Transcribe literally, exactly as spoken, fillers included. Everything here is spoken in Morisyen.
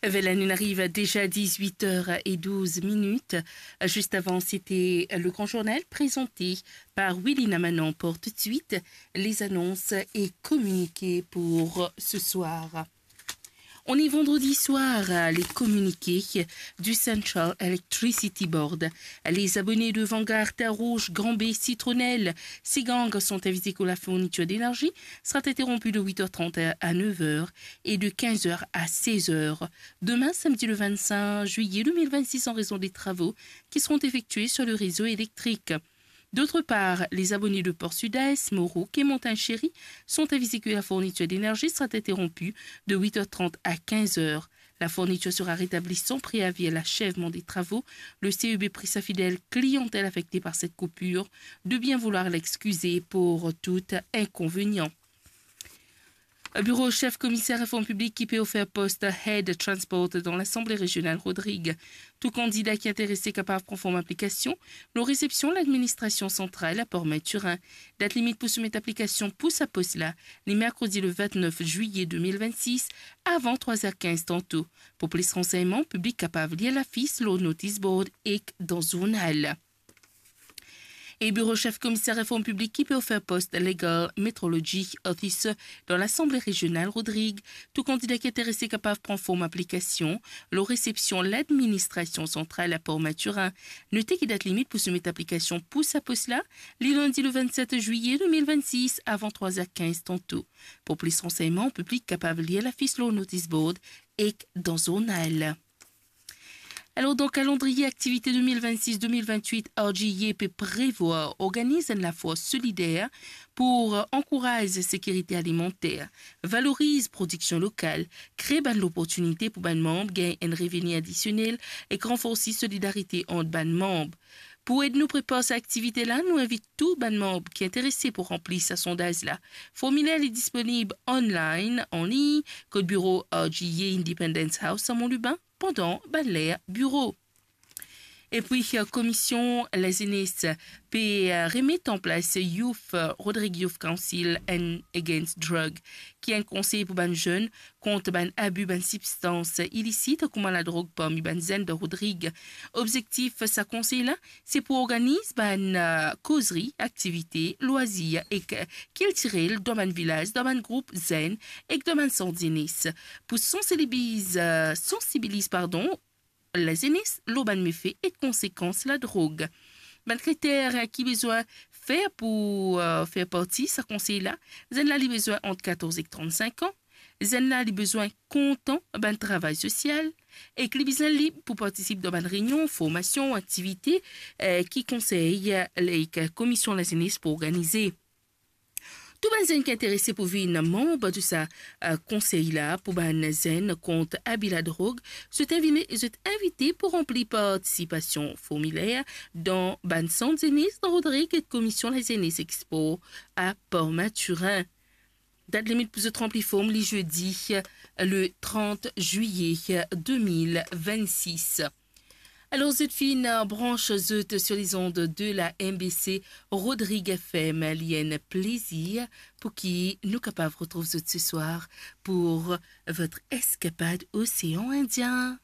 Voilà, nous arrive déjà dix-huit heures et douze minutes. Juste avant, c'était le grand journal présenté par Willy Namanon. Pour tout de suite, les annonces et communiqués pour ce soir. On est vendredi soir, les communiqués du Central Electricity Board. Les abonnés de Vanguard, Terre Rouge, Grand Baie, Citronnelle, Seigang sont avisés que la fourniture d'énergie sera interrompue de huit heures trente à neuf heures et de quinze heures à seize heures. Demain, samedi le vingt-cinq juillet deux mille vingt-six, en raison des travaux qui seront effectués sur le réseau électrique. D'autre part, les abonnés de Port Sud-Est, Moroc et Montagne Chérie sont avisés que la fourniture d'énergie sera interrompue de huit heures trente à quinze heures. La fourniture sera rétablie sans préavis à l'achèvement des travaux. Le C E B prie sa fidèle clientèle affectée par cette coupure de bien vouloir l'excuser pour tout inconvénient. Bureau chef commissaire réforme publique ki pe ofer post Head Transport dan Lasanble Rezionnal Rodrig. Tou kandida ki interese kapav pran form aplikasion lor resepsion ladministrasion santral a Port Mathurin. Dat limit pou soumet aplikasion pou sa pos la, li merkredi le vingt-neuf juillet deux mille vingt-six, avan trwa er kinz tanto. Pou plis ransegnman, piblik kapav lir lafis lor notice board ek dan zournal. E Bureau chef commissaire réforme publique ki pe ofer post Legal Metrology Officer dan Lasanble Rezionnal Rodrig. Tou kandida ki interese kapav pran form aplikasion lor resepsion ladministrasion santral a Port Mathurin. Note ki dat limit pou soumet aplikasion pou sa pos la, li landi le vingt-sept juillet deux mille vingt-six, avan trwa er kinz tanto. Pou plis ransegnman, piblik kapav lir lafis lor notice board ek dan zournal. Alor, dan kalandriye aktivite deux mille vingt-six deux mille vingt-huit, R G E A pe prevwar organiz enn lafwa solider pou ankouraz sekirite alimanter, valoriz prodiksion lokal, kre bann loportinite pou bann manb gagn enn reveni adisionel ek ranforsi solidarite ant bann manb. Pou ed nou prepar sa aktivite la, nou invit tou bann manb ki interese pou ranpli sa sondaz la. Formiler li disponib online, an lign, kot biro R G E A Independence House, Mont Lubin, pandan bann ler biro. Epi, eh, Komision Lazenes pe, eh, remet an plas Youth, eh, Rodrig Youth Council and Against Drug, ki enn konsey pou bann zenn kont bann abi bann sibstans ilisit, kouma ladrog parmi bann zenn dan Rodrig. Obzektif sa konsey la, se pou organiz bann, eh, kozri, aktivite, lwazir ek kiltirel dan bann vilaz, dan bann group zenn ek dan bann sant zenes. Pou sansibiliz, eh, sansibiliz, pardon, lazenes lor bann mefe ek konsekans ladrog. Bann kriter ki bizin fer pou, eh, fer parti sa konsey la, zenn la li bizin ant katorz ek trant-sink an, zenn la li bizin kontan bann travay sosial, ek li bizin lib pou partisip dan bann reynion, formasion, aktivite, eh, ki konsey, eh, ek Komision Lazenes pou organize. Tou bann zenn ki interese pou vinn manb de sa, eh, konsey la pou bann zenn kont abi ladrog, zot invite, zot invite pou ranpli partisipasion formiler dan bann sant zenes dan Rodrig ek Komision Lazenes ek Spor a Port Mathurin. Dat limit pou zot ranpli form li zedi, eh, le trant zwiye, eh, deux mille vingt-six. Alor, zot finn, eh, brans zot sur les ondes de la M B C Rodrig F M, li enn plezir pou ki nou kapav retrouv zot ce soir pour votre escapade océan Indien.